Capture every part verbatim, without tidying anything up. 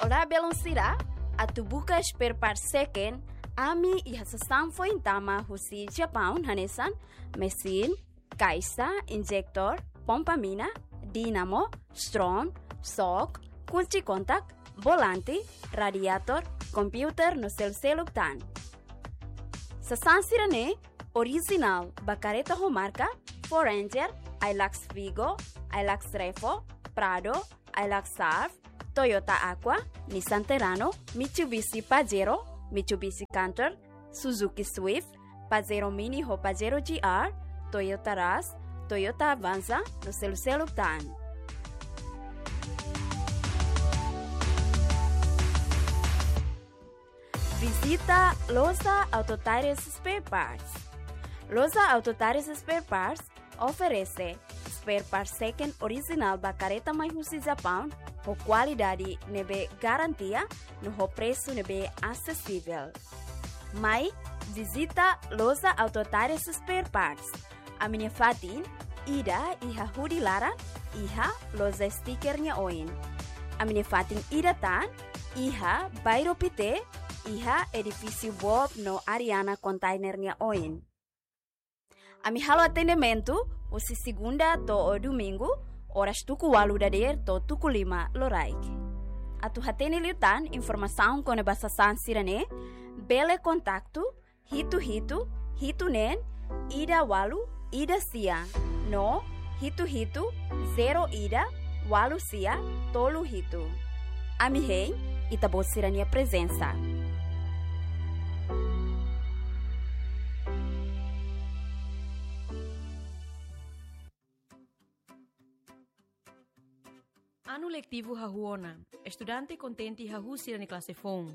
Olá, belun sira, atu buka spare part seken, ami iha sasán foin tama husi Japaun hanesan mesin, kaixa, injektór, pompa mina, dínamo, stron, xok, kunci kontak, volante, radiator, komputadór no selu-seluk tan. Sasán sira-ne'e orijinál ba kareta ho marka Ford Ranger, Hilux Vigo, Hilux Revo, Prado, Hilux Surf, Toyota Aqua, Nissan Terrano, Mitsubishi Pajero, Mitsubishi Canter, Suzuki Swift, Pajero Mini ho Pajero G R, Toyota Rush, Toyota Avanza, no selu-seluk tan. Vizita Loja Auto Tires Spare Parts. Loja Auto Tires Spare Parts oferese spare parts seken orijinál ba kareta mai husi Japaun, ho kualidade ne'ebé garantia, no ho presu ne'ebé asesivel. Mai vizita Loja Auto Tires Spare Parts. Ami-nia fatin ida iha hudi laran, iha loja stiker nia oin. Ami-nia fatin ida tan iha Bairro Pité, iha edifísiu Bob no Ariana Container nia oin. Ami halo atendimentu husi segunda to'o domingu, oras tuku ualu dadeer to'o tuku lima loraik. Atu hatene liután informasaun kona-ba sasán sira-ne'e, bele kontaktu hitu hitu, hitu neen, ida ualu, ida sia, no hitu hitu, zero ida, ualu sia, tolu hitu. Ami hein Ita-Boot sira-nia prezensa. Anu letivu hahú ona, estudante kontente hahú sira-nia klase foun.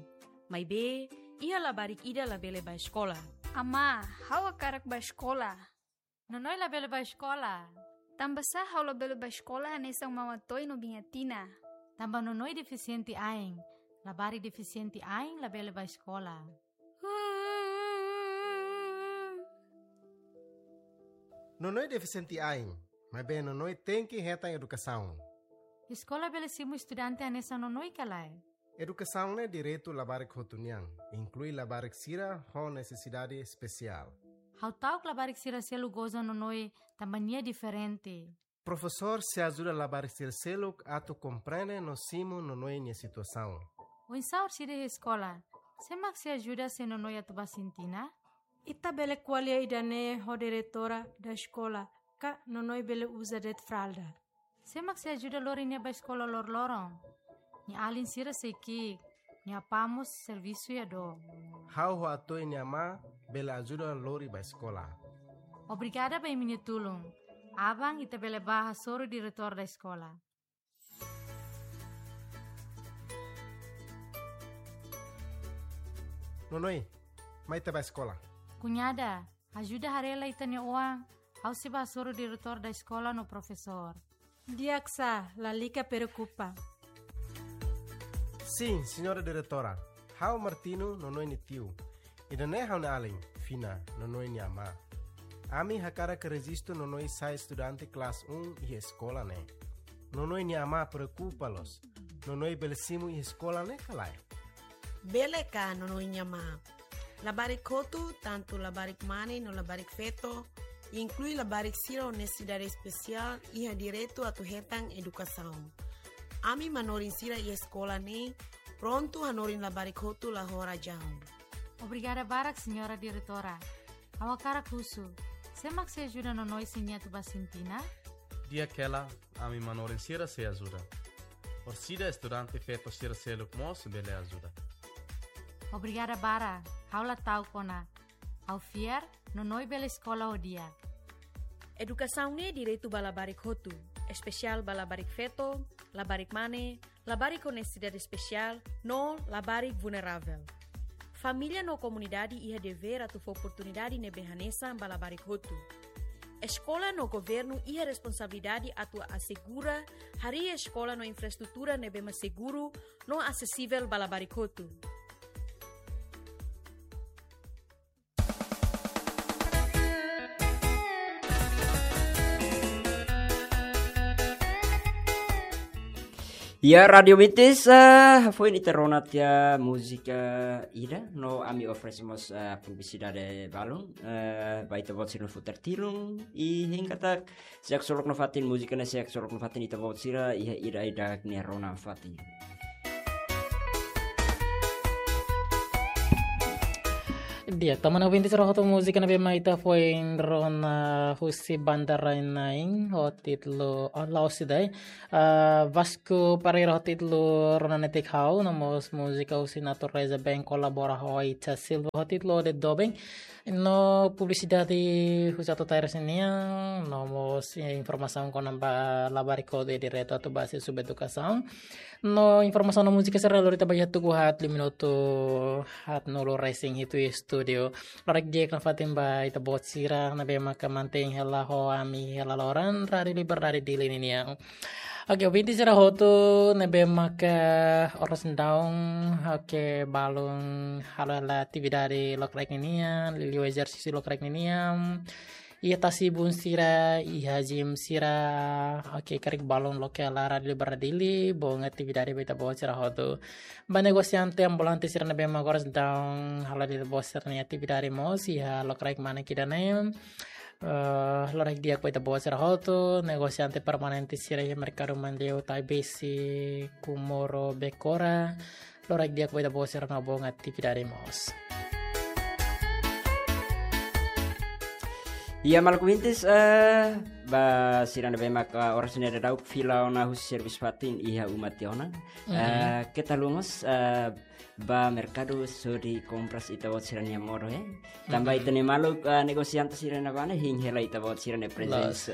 Maibé, iha labarik ida labele bá eskola. Amá, ha'u hakarak bá eskola. Nonoi labele bá eskola? Tanbasá ha'u labele bá eskola hanesan Mama Toy no Biña Tina? Tanba Nonoi defisiente ain. Labarik defisiente ain labele bá eskola. Nonoi defisiente ain, maibé Nonoi tenke hetan edukasaun. Eskola bele simu estudante hanesan Nonoi ka lae? Edukasaun ne'e direitu labarik hotu nian, inklui labarik sira ho nesesidade espesiál. Ha'u ta'uk labarik sira seluk goza Nonoi tanba nia diferente. Profesór sei ajuda labarik sira seluk atu komprende no simu Nonoi nia situasaun. Oinsá orsida iha eskola? Sé mak sei ajuda se Nonoi atu bá sintina? Ita bele ko'alia ida-ne'e ho diretora da eskola, ka Nonoi bele uza de'it fralda. Sé mak sei ajuda lori nia bá eskola loroloron? Nia alin sira sei ki'ik, nia apá mós servisu iha dook. Ha'u ho Atoy nia amá bele ajuda lori bá eskola. Obrigada ba imi-nia tulun. Aban ita bele bá hasoru diretór da eskola. Nonoi, mai ita bá eskola. Kuñada, ajuda haree lai ita-nia oan, ha'u sei bá hasoru diretór da eskola no profesór. Di'ak sá, lalika preokupa. Sin, señora diretora. Ha'u Martino, Nonoi nia tiu. Ida-ne'e ha'u-nia alin, Fina, Nonoi nia amá. Ami hakarak rejistu Nonoi sai estudante klase un iha eskola ne'e. Nonoi nia amá preokupa loos. Nonoi bele simu iha eskola ne'e ka lae? Bele ka, Nonoi nia amá? Labarik hotu, tantu labarik mane no labarik feto, inklui labarik sira ho nesesidade espesiál, iha direitu atu hetan edukasaun. Ami manorin sira iha eskola ne'e prontu hanorin labarik hotu la ho razaun. Obrigada barak, señora diretora. Ha'u hakarak husu, sé mak sei ajuda Nonoi se nia atu bá sintina? Di'ak hela, ami manorin sira sei ajuda. Orsida estudante feto sira seluk mós bele ajuda. Obrigada barak, ha'u la ta'uk ona. Ha'u fiar, Nonoi bele eskola ho di'ak. Edukasaun ne'e direitu ba labarik hotu, espesiál ba labarik feto, labarik mane, labarik ho nesesidade espesiál, no labarik vulneravel. Família no komunidade iha devér atu fó oportunidade ne'ebé hanesan ba labarik hotu. Eskola no governu iha responsabilidade atu asegura harii eskola no infraestrutura ne'ebé mak seguru no asesivel ba labarik hotu. Ya, Rádio Vintis, eh, foin ita rona tiha múzika ida, no ami oferese mós, eh, publisidade balun, eh, ba ita-boot sira-nia futar tilun, i hein katak, se haksolok nafatin múzika ne'e, se haksolok nafatin ita-boot sira, iha ida-idak nia rona fatin. Di'ak, tanba ouvinte sira hotu, múzika ne'ebé mak ita foin rona husi banda rai-na'in ho títulu, oh, la'ós ida, eh, Vasco Pereira ho títulu Rona Netik Ha'u, no mós múzika husi Natureza Bem kolabora ho Icha Silva ho títulu Ode Doben. No publisidade husi Atu Tair sira-nian, no mós, eh, informasaun kona-ba labarik hodi diretu atu ba Sesuba Edukasaun. No informasaun no múzika sira lori ita ba iha tuku haat, lima minutu haatnulu resin hitu iha estúdiu. Loron di'ak nafatin ba ita-boot sira ne'ebé maka mantein hela ho ami hela loron Rádio Liberdade Dili ninian. Oke, ouvinte sira hotu ne'ebé maka oras daudaun, oke, balun halo hela atividade lokraik ninian, liuliu ezersísiu lokraik ninian. Iha tasi bun sira, iha gym sira, oke, karik balun loke hela Rádio Liberdade Dili, bom atividade ba ita-boot sira hotu. Ba negosiante ambulante sira ne'ebé mak oras daudaun halo hela ita-boot sira-nia atividade mós iha lokraik manek ida-ne'e. Eh, loron di'ak ba ita-boot sira hotu, negosiante permanente sira iha merkadu Manleu, Taibesi, Comoro, Becora. Loron di'ak ba ita-boot sira no bom atividade mós. Ya, maluk ouvintes, eh, ba sira ne'ebé maka oras ne'e daudaun fila ona husi servisu fatin iha uma tiha ona. Mhm. Eh, keta haluha mós, eh, ba merkadu hodi kompras ita-boot sira-nia modo, eh. Tanba, mhm, ita-nia maluk, eh, negosiante sira-ne'e bá ne'e hein hela ita-boot sira-nia prezensa. Loos.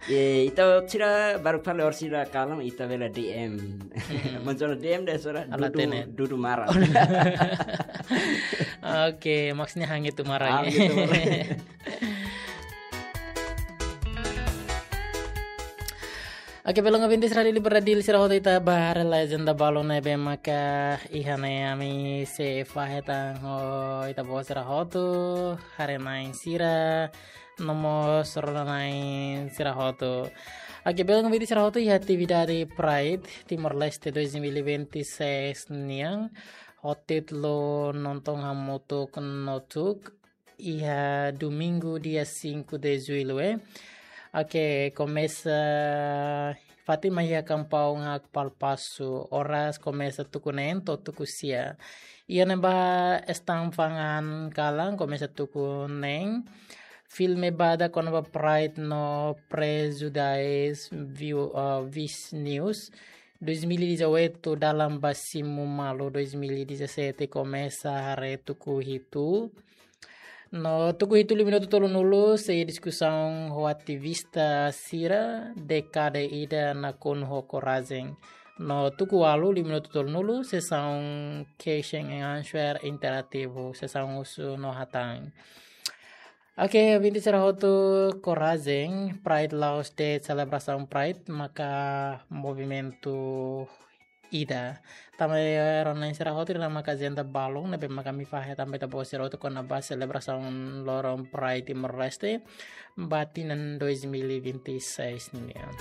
Eh, ita-boot sira baru fali oras ida kalan ita bele D M. Mhm. Maksudnya D M de'it, sira Ala dudu, tene. Dudu maran. Oke, maksudnya hangit tu maran. Hangit tu maran. Oke, belun ouvintes Rádio Liberdade Dili sira hotu, ita ba haree hela ajenda balun ne'ebé maka iha ne'e, ami sei fahe tan ho ita-boot sira hotu, haree-na'in sira, no mós rona-na'in sira hotu. Oke, belun ouvintes sira hotu, iha atividade Pride Timor-Leste dois mil e vinte e seis nian, ho títulu Nonton Hamutuk Notuk, iha domingu dia cinco de julho, eh. Oke, komesa fatin mai iha kampaun Hakpalpasu, oras komesa tuku neen to'o tuku sia. Iha ne'ebá stand fa'an kalan komesa tuku neen. Filme badak kona-ba Pride no prejudais view, eh, Vice News. Dois mil e dezoito dalan ba simu malu, dois mil e dezassete komesa haree tuku hitu. No tuku hitu lima minutu tolunulu sei diskusaun ho ativista sira, dékada ida nakonu ho korajen. No tuku ualu lima minutu tolunulu sesaun question and answer interativu, sesaun husu no hatán. Oke, ouvinte sira hotu, korajen, Pride la'ós de'it selebrasaun Pride, maka movimentu ida. Tanba rona-na'in sira hotu, ida-ne'e maka ajenda balun ne'ebé maka ami fahe tan ba ita-boot sira hotu kona-ba selebrasaun loron Pride Timor-Leste ba tinan dois mil e vinte e seis nian.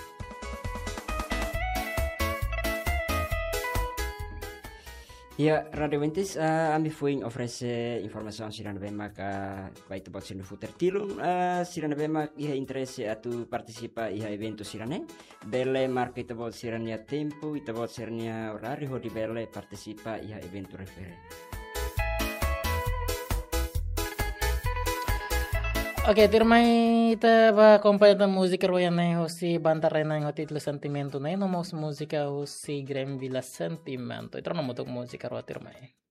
Ya, Rádio Vintis, eh, ami foin oferese informasaun sira ne'ebé maka ba ita-boot sira-nia futar tilun, eh, sira ne'ebé mak iha interese atu partisipa iha eventu sira-ne'e, bele marka ita-boot sira-nia tempu, ita-boot sira-nia oráriu hodi bele partisipa iha eventu refere. Oke, tuirmai ita ba akompaña tan múzika rua ida-ne'e husi banda rai-na'in ho títulu Sentimentu ne'e, no mós múzika husi Grem Vila Sentimentu. Ita rona hamutuk múzika rua tuirmai.